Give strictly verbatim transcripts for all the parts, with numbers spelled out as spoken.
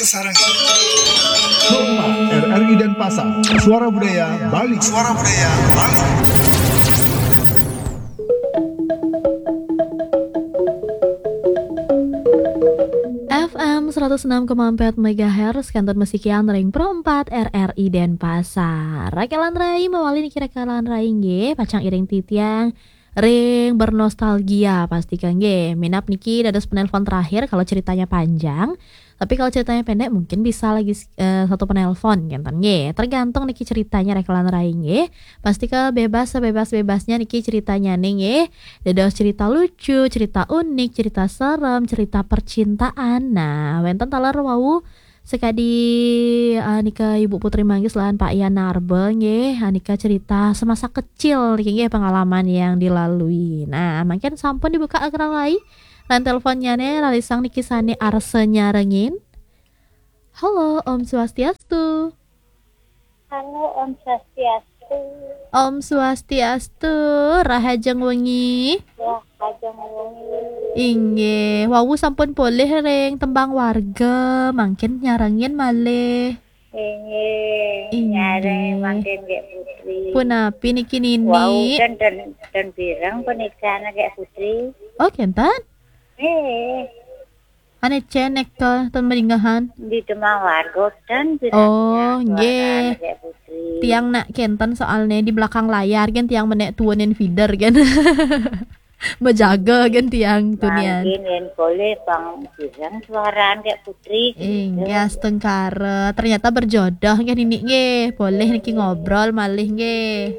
Sarang. Rumah R R I Denpasar. Suara Budaya Bali. Suara Budaya Bali. F M seratus enam koma empat megahertz, kantun masikian ring Pro empat R R I Denpasar. Rakelan rai, mawali niki rakelan rai nggih, pacang iring titiang ring bernostalgia, pastika nggih. Minab niki dados penelpon terakhir kalau ceritanya panjang. Tapi kalau ceritanya pendek, mungkin bisa lagi, eh, satu penelpon, kenten nggih. Tergantung niki ceritanya rakelan rai nggih. Pastika bebas sebebas-bebasnya niki ceritanya nih nggih. Dados cerita lucu, cerita unik, cerita serem, cerita percintaan. Nah, wenten taler wau sekadi, eh, nika Ibu Putri Manggis lan Pak Yan Narba nggih. Eh, nika cerita semasa kecil niki nggih, pengalaman yang dilalui. Nah, mangkin sampun dibuka rakelan rai. Lan teleponnya nih, lalisang niki sane arsa nyarengin. Halo, Om Swastiastu. Halo, Om Swastiastu. Om Swastiastu, rahajeng wengi. Rahajeng wengi. Inggih, wau sampun polih ring tembang warga, mangkin nyarengin malih. Inggih, inggih. Nyareng mangkin Gék Putri. Punapi niki Nini? Wau, ten, ten, ten pireng punika Gék Putri. Oh, kenten? Eh. Ane cenek ke ten maringgahan. Di tembang warga ten pireng. Oh, pireng nggih. Suara Gék Putri. Tiang nak kenten soalnya di belakang layar kan tiang menek tuunin feeder kan. Bejaga kan tiang tunian. Mangkin yen polih pang pireng suaraan Gék Putri. Inggih, astungkara. Ternyata berjodoh kan ini nggih. Polih niki ngobrol malih nggih.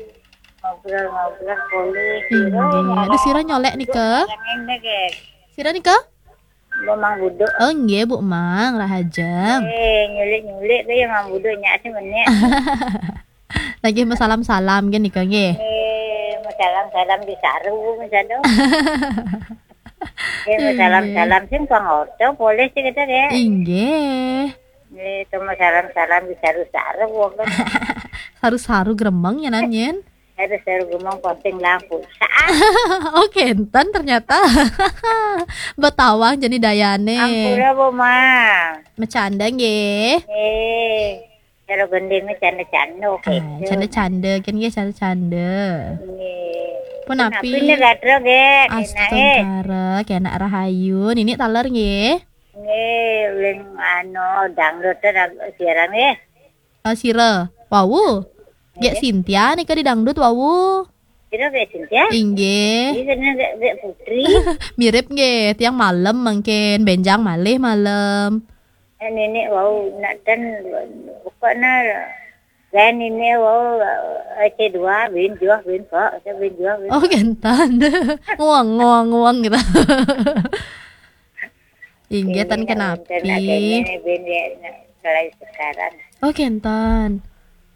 Ngobrol-ngobrol polih. Inggih. Aduh, sira nyolek nika? Sira nika? Mbok Mang Buduk. Oh, nggih, Bu Mang, rahajeng. Eh, nyulik-nyulik ke ya Mang Buduk nyak sih menek. Lagi masalam-salam kan nika nggih. Eh, masalam-salam di saru, misalnya. Eh, masalam-salam sing pang orto, polih sih kita ya. Inggih. Eh, itu masalam-salam di saru-saru, wong kan. Saru-saru gremeng ya nan yen. Saru-saru gremeng posting lampu. Oh, kenten ternyata. Betawang jadi dayane. Ampura, Bu Mang. Macanda nggih. Eh. Cara gending ni canda-canda, ah, gitu. Canda-canda, kan nggih, canda-canda. Nggih. Punapi? Punapi ni gatra, Gék? Enak, eh. Astungkara, kenak rahayu. Nini taler nggih? Nggih, uling anu, dangdut tu dah siaran nggih. Ah, sira. Wau. Gék Cynthia nika di dangdut wau. Sira Gék Cynthia? Inggih. Ini kena Gék, Gék Putri. Mirip nggih, tiang malem mangkin, benjang malih malem. Eh, nenek wau nak ten pokoknya dan nenek wau, eh, C dua bin juah bin kok, saya bin juah bin. Oh, kenten. Nguang, nguang, nguang gitu. Inggih, ten kenapi. Ini bin ya, nah, selain sekarang. Oh, kenten.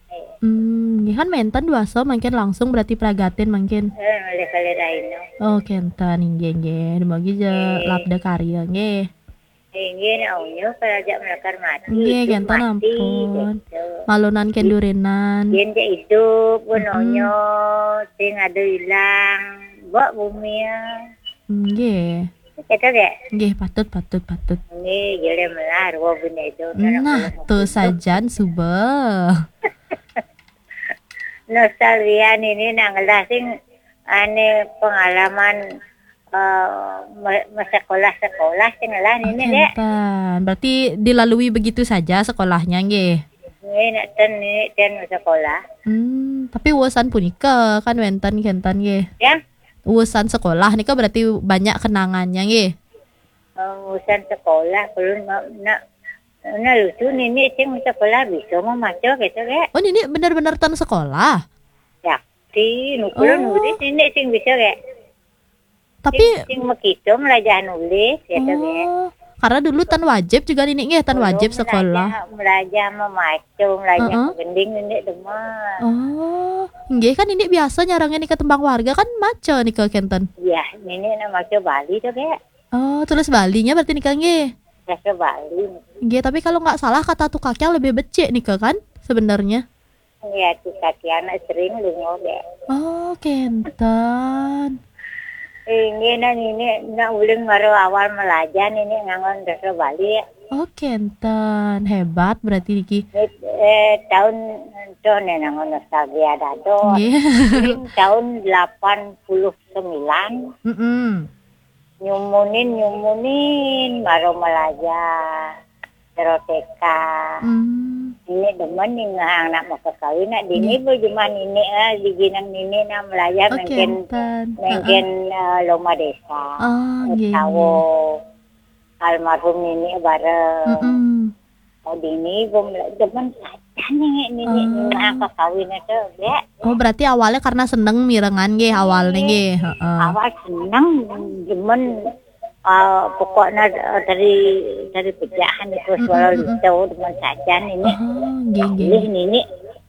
Eh. Hmm, nggih kan menten duasa mangkin langsung berarti pragatin mangkin. Eh, oleh kali lain. Oh, kenten, inggih, inggih. Dumugi ja labda karya nggih. Inggih, nak unyu karaja melakar mati. Nggih, hidup kenten mati, ampun. Gitu. Malunan kendurinan. Yen cek hidup pun unyu, sing ada hilang. Mbok bumi ya. Nggih. Gitu, Gék? Nggih, patut, patut, patut. Nggih, gile melar, wah, bini itu. Nah, tuh sajan suba. Nostalgia ini nang ngelah sing ane pengalaman, eh, me-, me-, sekolah-sekolah sing ngelah ini, Gék. Kenten. Berarti dilalui begitu saja sekolahnya, nggih? Nggih, nak ten, ini ten sekolah. Hmm, tapi uasan punika kan wenten kenten, nggih? Ya? Uasan sekolah nika berarti banyak kenangannya, nggih? Eh, urusan sekolah, belum ma-, nak, nak lucu nini sing sekolah bisa memaca gitu, Gék. Oh, nini bener-bener ten sekolah? Yakti, nukulun nulis nini sing bisa, Gék. Tapi sing, sing mekitung lajah nulis gitu, Gék. Oh, karena dulu ten wajib juga nini nggih, ten wajib sekolah. Melajah, melajah memaca, melajah gending nini demen. Oh, nggih kan nini biasa nyarengin nika tembang warga kan maca nika kenten. Iya, nini nak maca Bali tuh, Gék. Oh, tulis Balinya berarti nika nggih. Bahasa Bali. Nggih, tapi kalau nggak salah kata tukakyang lebih becik nika kan sebenarnya. Iya, tukakyangnya sering lunga, Gék. Oh, kenten. Inggih, nah nini nak uling baru awal melajah nini nganggo bahasa Bali. Oh, kenten. Hebat berarti niki. Eh, tahun, tuh, nih, nang nostalgia dado. Nggih. Tahun delapan puluh sembilan, Mm-mm. nyumunin, nyumunin, maro malaja, teroteka. Hmm. Ini demen nih ngehang nak mau kekawin, nak dini. Nggih. Bu, cuma nini, eh, di ginang nini nak malaja. Oh, mungkin, kenten. Mungkin, eh, loma desa. Oh, nggih, tawo nggih. Almarhum nini bareng. Mm-mm. Oh, dini, bu, demen saja nih nini. Oh. Ngehang kekawin itu, ya. Oh, berarti awalnya karena seneng mirengan nggih awalnya nggih. Heeh. Awal seneng, demen, eh, pokoknya, eh, dari, dari pejahan itu. Mm-mm, suara mm-mm. Litu, demen saja nini. Oh, nggih, nggih. Pilih nini,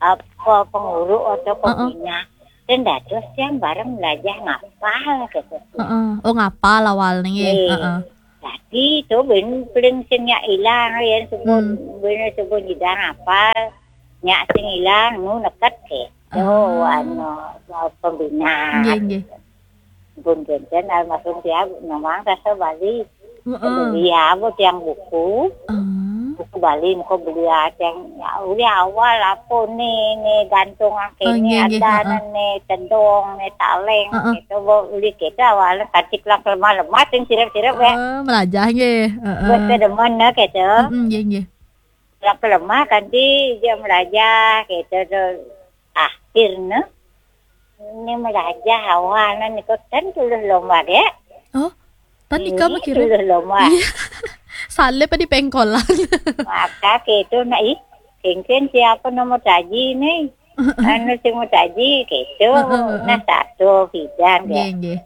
apa, pengurus atau pembina. Dan dados yang bareng belajar ngapal gitu. Heeh. Oh, ngapal awalnya nggih. Nggih. Heeh. Jadi itu ben paling sing nyak ilang ya, sebut, hmm, ben sebut nyidang ngapal, nyak sing ilang, nu neket gitu. Ah. Anu, pembina. Nggih, nggih. Pun kenten almarhum dia memang rasa Bali. Heeh. Beli apa tiang buku? Ah. Buku Bali, muka beli tiang, ya, uli awal apa nih, nih gantung. Oh, kene nggih, nggih, ada heeh. Nih tedong, nih taleng, heeh. Gitu, bu, uli kita awalnya kancik lah lemah-lemah, sing sirap-sirap, ya. Oh, melajah nggih. Heeh. Buat kedemen, nah, gitu. Mm-mm, nggih, nggih. Lah kelemah kanti dia melajah gitu tuh. Akhirnya ini melajah awalnya niku kan tulus lomba dek. Oh, tan nika ini mah kira. Tulus lomba. Iya. Salib di pengkolan. Maka gitu nak ih, kengken siapa nomor taji nih? Anu sing mau taji gitu. Heeh, heeh. Nah satu bidang ya. Nggih, nggih.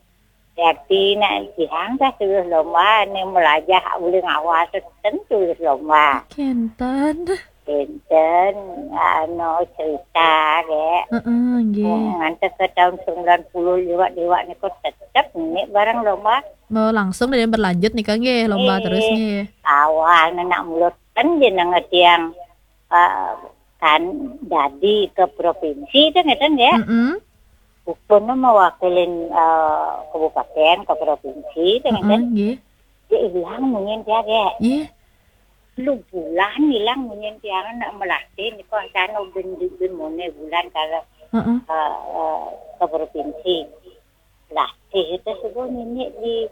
Berarti nak jihang dah tulus lomba ni melajah boleh ngawal tentu tulus lomba. Kenten. Kenten, anu cerita ke. Heeh, nggih. Oh, nganti ke tahun sembilan puluh lewat-lewat ni kok tetap ni barang lomba. Oh, langsung dia berlanjut nih kan nggih, lomba eh, terus nggih. Awal nak mulut kan jeneng tiang, eh, kan dadi ke provinsi itu ngeten ya. Mm-mm. Bukan mewakilin, eh, kabupaten ke provinsi itu ngeten. Mm-mm, nggih. Dia hilang mungkin dia ke. Nggih. Lu bulan hilang mungkin dia nak melatih ni kok sana bin bin mone bulan kalau, heeh, eh, eh, ke provinsi. Latih itu subuh nini di,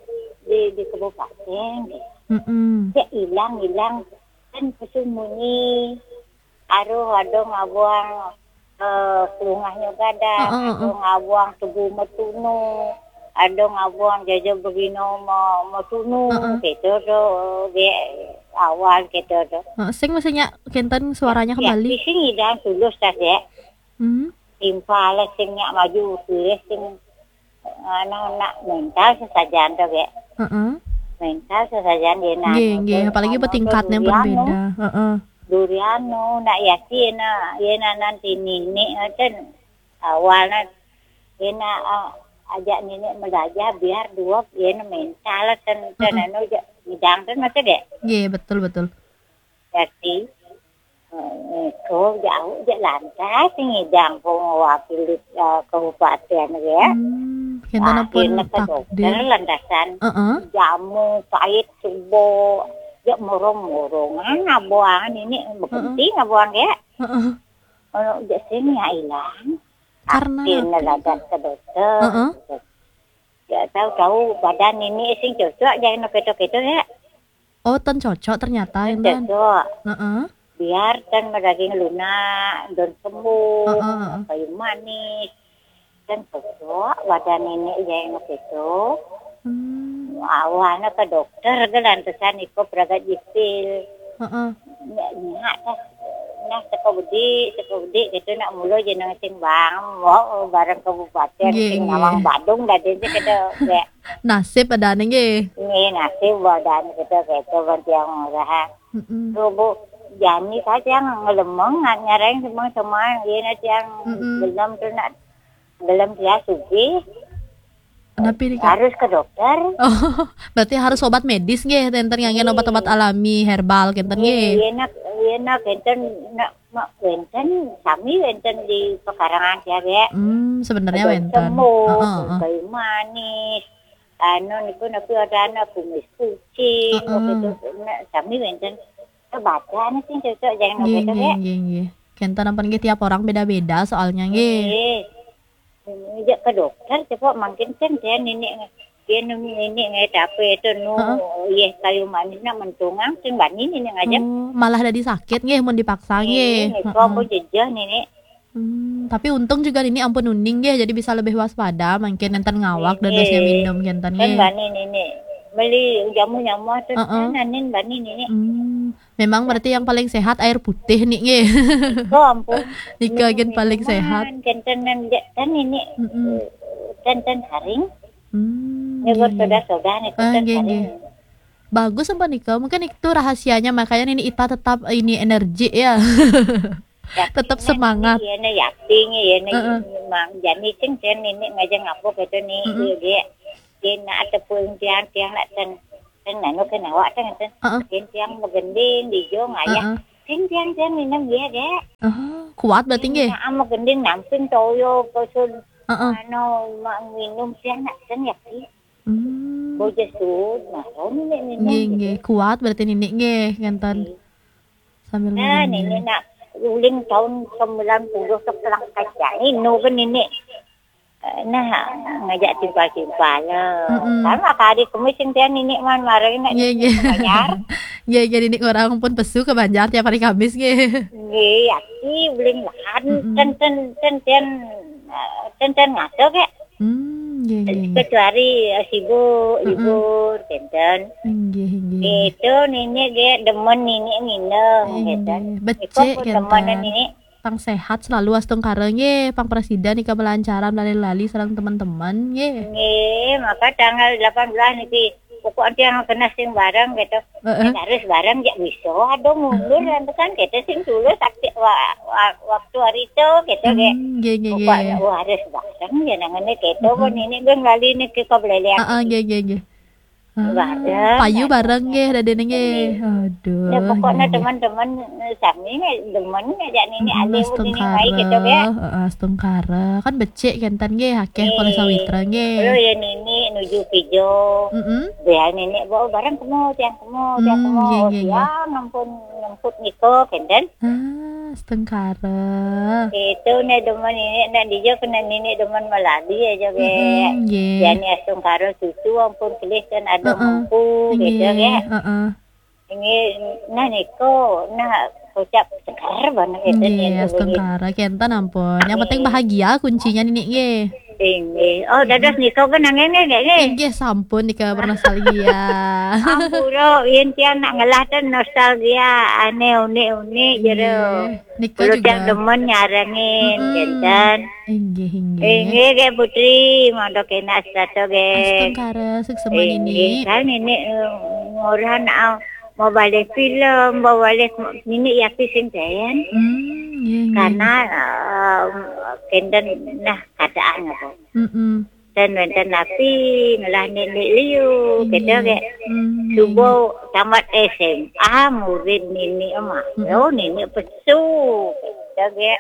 di, di kabupaten. Mm-mm. Dia hilang hilang kan kusum munyi. Aduh, ada ngabuang, eh, kelungahnya gada, heeh, ada heeh. Ngabuang tubuh metunu, ada ngabuang jaja begino me-, metunu, heeh. Gitu tu, di awal gitu tu. Heeh, sing mesti nyak kenten suaranya ya, kembali. Di sini dah tulus dah ya. Hmm. Timpal sing nyak maju, pilih sing anu, nak mental sesajan tu, Bek. Heeh. Mental sesajan dia nak. Nggih, nggih, apalagi anu, tingkatnya durian berbeda. Heeh. Durian nu, nak yakin, nak, ya, nak nanti nini, kan awal nak, ya, nak, ah, ajak nini melajah biar dua, ya, nak mental, kan, kan, heeh, anu, ja-, bidang, kan, macam dek. Nggih, betul, betul. Jadi, eh, itu jauh je lantas ngidang pun wakil, eh, kabupaten ya. Hmm, kita pun akhirnya ke dokter takdir. Lantasan heeh. Jamu pahit subo, ya murung-murungan abuangan ini, heeh, penting abuang ya. Heeh. Kalau je sing ya hilang. Karena akhirnya apa? Lantas ke dokter. Heeh. Ya tahu-tahu badan ini sing cocok jadi nak ketok-ketok ya. Oh, ten cocok ternyata, ten enten. Cocok. Heeh. Biar ten daging lunak, daun kembung, heeh, heeh, kayu manis. Ten cocok, wadah nenek ya yang itu. Hmm. Awalnya ke dokter, ke lantasan iko peragat jipil. Heeh. Nyak, nyak, dah. Nah, seko bedik, seko bedik, gitu nak mulu jeneng sing bang, mau bareng kabupaten, nggih, sing nggih. Nawang Badung, dah dia gitu, ya. Nasib ada nggih. Nggih, nasib badan kita keto ban tiang murah. Mm-mm. Tuh, Bu, jani ka tiang ngelemeng, ngareng semua, semua, nggih, na tiang mm-mm. Gelem tu nak, gelem dia sugih. Napi ni, Kak? Harus ke dokter. Oh, berarti harus obat medis nggih, enten ngangge obat-obat alami, herbal, kenten nggih. Iya, nak, iya, nak, enten, nak, mak, enten, sami enten di pekarangan dia, Bek. Hmm, sebenarnya wenten. Sembuh, heeh, heeh. Kayu manis, anu niku napi ada anak kumis kucing, heeh. Waktu itu, nah, sami wenten. Kebacaan sih cocok jangan nggih, nggih, nggih, nggih. Kenten ampun nggih, tiap orang beda-beda soalnya nggih. Nggih. Ngejak ke dokter coba mungkin kan dia nenek dia nenek ngai apa itu nu, heeh, iya kayu manis nak mentungang sing bani nenek ngajak. Oh, malah dadi sakit nggih mun dipaksa nggih. Nggih, heeh. Kok jejah nenek. Hmm, tapi untung juga ini ampun uning nggih, jadi bisa lebih waspada mungkin nenten ngawak dan nggih, dadosnya minum kenten kan nggih. Bani nenek. Beli jamu nyamu tuh heeh. Kan anin bani nenek. Hmm. Memang berarti yang paling sehat air putih nih nggih. Oh ampun. Nika gen paling sehat. Kenten kan ini. Mm-mm. Kenten haring. Hmm, nggih, nggih. Soda-soda nih ah, kenten nggih, haring. Nggih. Bagus apa nika? Mungkin itu rahasianya makanya ini Ita tetap ini energi ya. Tetap semangat. Iya, nah, yakin ya, nah, heeh. Mang, jadi kan saya nenek ngajak ngapa gitu nih, mm-mm. Iya, dia. Dia nak ada pun tiang, tiang nak ten, ten anu kan awak ten, ten. Heeh. Dia tiang begending, di jo ngayah. Heeh. Sing tiang, tiang minum dia, dek. Ah, kuat berarti nggih. Nah, mau gending namping toyo, pesun, heeh. Anu, mak minum tiang nak ten ya, sih. Hmm. Bojo sud, nah, oh, nenek, nenek, nggih, gitu. Nggih. Kuat berarti nenek nggih, ngenten. Nggih. Sambil nah, minum. Nenek nak uling tahun sembilan puluh sepelang kacang. Ini kan nenek. Eh, nah, ngajak timpal-timpal lah. Mm-mm. Sama kali kemis yang dia nenek man marah nak nggih, nggih. Bayar. Nggih, nggih, nenek orang pun pesu ke Banjar tiap hari Kamis nggih. Nggih, ya, si uling lahan. Mm-mm. Ten, ten, ten, ten, eh, ten, ten ngaso kek. Hmm, nggih, nggih, nggih. Kecuali, eh, sibuk, mm-mm. Libur, kenten. Nggih, nggih. Itu nenek ge demen nenek nginum, nggih, kenten. Becik, iko pun demen kenten. Nenek. Pang sehat selalu astungkara nggih, pang presiden ika belancaran lali-lali sareng teman-teman nggih. Nggih, maka tanggal delapan belas niki pokok nanti yang kena sing bareng gitu. Heeh. Harus bareng jak bisa ada mundur nanti kan kita sing dulu sakti wa, wa, waktu hari itu gitu ge. Hmm, nggih, nggih, pokoknya nggih. Wah, harus bareng ya nangane gitu pun ini gue ngali niki kau belele. Heeh, nggih, nggih, nggih. Ah, bareng, payu bareng nggih dadene nggih. Aduh. Ya pokoknya nggih, nggih. Teman-teman sami nggih demen ngajak nini. Mm-mm, alih astungkara, nini mai gitu ge. Heeh, astungkara. Kan becik kenten nggih, akeh. Nggih. Poleh sawitra nggih. Lho ya nini nuju pijo. Mm-mm. Biar nini bawa bareng kemo, tiang kemo, tiang kemo. Mm, nggih, nggih, nggih. Tiang ampun nyemput niko kenten. Ah, astungkara. Itu ne demen nini, nak dijo kena nini demen meladi aja ge. Mm-mm, nggih. Jani astungkara cucu ampun kelih kan ada heeh. Mengku gitu nggih, ge. Heeh. Ini nah niko, nah kocap seger banget gitu. Nggih, nini astungkara kenten ampun. Yang penting nggih. Bahagia kuncinya nini nggih. Inggih. Oh, dados nika kan nanging nggih, nggih. Inggih, sampun nika bernostalgia. Ampura, yen tiang nak ngelah ten nostalgia, ane unik-unik jero. Inggih. Nika juga. Tiang demen nyarengin, mm-mm. Kenten. Inggih, inggih. Inggih, nggih, Putri, mondok enak sedato, nggih. Astungkara, suksema nini. Inggih, kan nini, eh, ngurah nak mau balik film, mau balik nini ya sing ten. Hmm, inggih, inggih. Karena, eh, kenten nah keadaan apa. Mm-mm. Dan wenten napi ngelah nenek liu, gitu, nggih. Nggih. Hmm, subuh tamat S M A, murid nini emak. Mm-mm. Oh, nini pesu, gitu, nggih.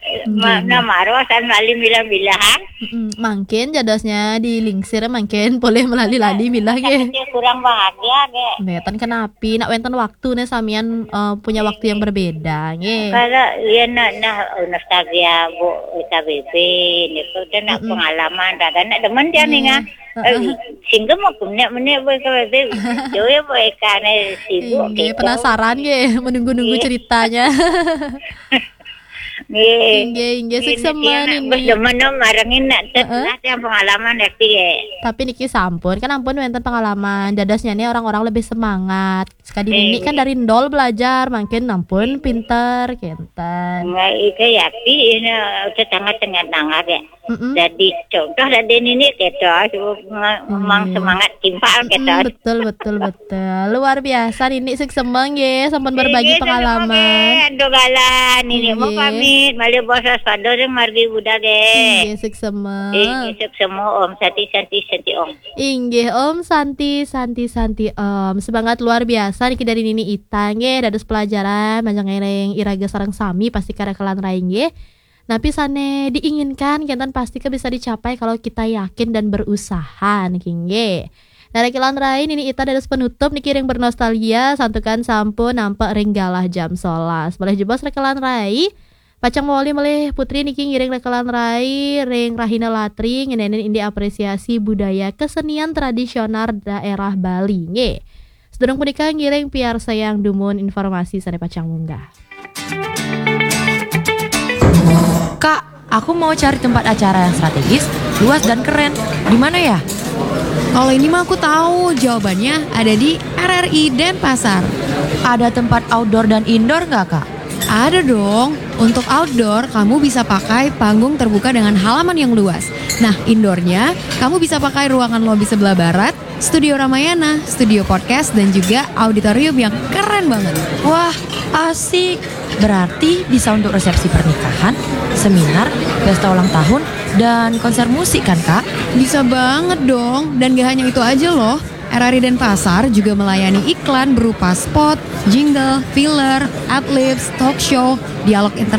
Nggih, ma-, nggih. Nah, maro san lali milah-milah, ha? Mm-mm. Mangkin jadosnya di lingsir, mangkin boleh melali-lali milah, nggih. Tapi kurang bahagia, nggih. Nggih, ten kenapi, nak wenten waktu nih samian, eh, punya waktu yang berbeda, nggih. Kalau iya nak, nah, nostalgia, Bu, S K B B, niku kan nak mm-mm. Pengalaman, kadang nak demen dia nggih. Nih, nggak. Heeh. Eh, sehingga mau punya menit, Bu, S K B B, jauh ya, Bu, Eka nih, sibuk, nggih, gitu. Penasaran, nggih, menunggu-nunggu nggih. Ceritanya. Nggih. Inggih, inggih, nggih, suksema niki anak nini. Wis demen no marengin nak tet heeh. Lah yang pengalaman ya, nggih. Tapi niki sampun, kan ampun wenten pengalaman. Dadosnya nih orang-orang lebih semangat. Sekali nini kan dari nol belajar, mungkin ampun pinter, kenten. Nggih, itu ya, pi, ini tetangga tengah-tengah ya. Mm-mm. Jadi contoh dari nini kita, memang semangat timpal kita. Mm-mm, betul, betul, betul. Luar biasa, nini suksema nggih, sampun berbagi pengalaman. Nggih, suksema nggih, Ando Galan. Nini mau pamit, malih basa sepadan margi Buddha nggih. Nggih, suksema. Nggih, suksema, Om Santi, Santi, Santi, Om. Inggih, Om Santi, Santi, Santi, Om. Semangat luar biasa niki dari nini Ita nggih, dados pelajaran, manjang ngiring iraga sareng sami pasti karakelan rai nggih. Napi sane diinginkan kenten pasti ke bisa dicapai kalau kita yakin dan berusaha niki nggih. Nah, rekelan rai nini ita dados penutup niki ring bernostalgia santukan sampun nampek ring galah jam solas. Malih jebos rekelan rai, pacang mawali malih Putri niki ngiring rekelan rai ring rahina latri ngenenin indik apresiasi budaya kesenian tradisional daerah Bali. Nggih. Sedurung punika ngiring piarsayang dumun informasi sane pacang munggah. Kak, aku mau cari tempat acara yang strategis, luas dan keren. Di mana ya? Kalau ini mah aku tahu jawabannya ada di R R I Denpasar. Ada tempat outdoor dan indoor nggak, Kak? Ada dong. Untuk outdoor, kamu bisa pakai panggung terbuka dengan halaman yang luas. Nah, indoornya, kamu bisa pakai ruangan lobi sebelah barat, studio Ramayana, studio podcast, dan juga auditorium yang keren banget. Wah, asik. Berarti bisa untuk resepsi pernikahan, seminar, pesta ulang tahun, dan konser musik kan, Kak? Bisa banget dong. Dan gak hanya itu aja loh. R R I Denpasar juga melayani iklan berupa spot, jingle, filler, adlibs, talk show, dialog interaktif,